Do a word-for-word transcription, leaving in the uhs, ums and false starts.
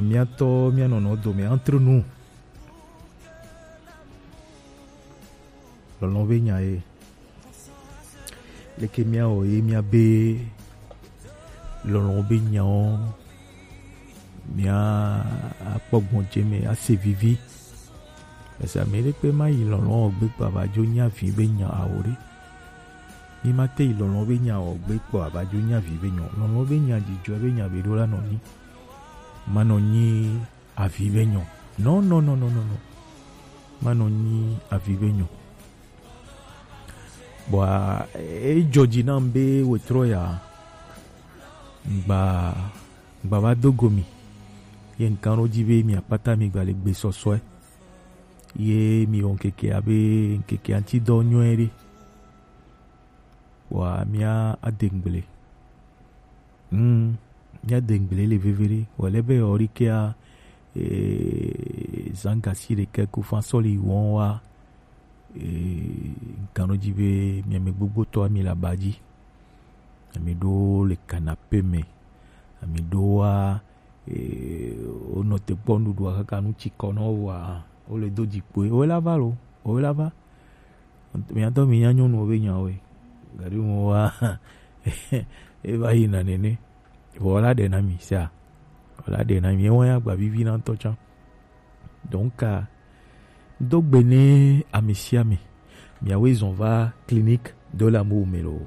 Miatɔ, mianɔnɔ dome entre nous. Lɔlɔ̃ be nya ye. Leke miawɔ ye miabe lɔlɔ̃ be nyawo mia akpɔ gbɔnjeme ase vivi. Esa mi ɖekpe ma yi lɔlɔ̃ gbe kpɔ ava dzo nya vi be nya awo ɖe. Mi ma te yi lɔlɔ̃ be nya wɔ gbe kpɔ ava dzo nya vi be nyɔ. Lɔlɔ̃ be nya dzidzɔ be nya be ɖo la nɔ nyi. Ma nɔ nyi avi be nyɔ. No, no, no, no, no, no. Ma nɔ nyi avi be nyɔ. Bɔa, ejɔ dzi nam be wetrɔ ya. Gba, gba va do go mi. Ye nkan ɖo dzi be mi akpata mi gba le gbe sɔsɔe. Ye mi wɔ nkeke abe nkeke aŋuti dɔ nyɔe ɖe. Wa mia ade ŋgble. Mm, mia de ŋgble le vevere. Wale be ori kea, eh, zanga si ɖekɛ ku fa sɔli wɔn wa, eh, nkan ɖo dzi be mia me gbogbo tɔ ami la ba dzi. Ami ɖo le canapé me. Ami ɖo wa, eh, wonɔ te kpɔ nuɖuɖua kaka nu tsi kɔ nɔ wa, wole do dzi kpoe. Wo la va lo, wo la va. Miatɔ mi nya nyɔnuwo be nyawoe. Gari mo wa, eva yi na nene. Vɔ la ɖe na mi sia. Vɔ la ɖe na mi. Ewa ya gba vivi na ŋutɔ tsã. Donc, ah, do gbe ne ame sia ame. Miawoe zɔn va clinique de l'amour me lo.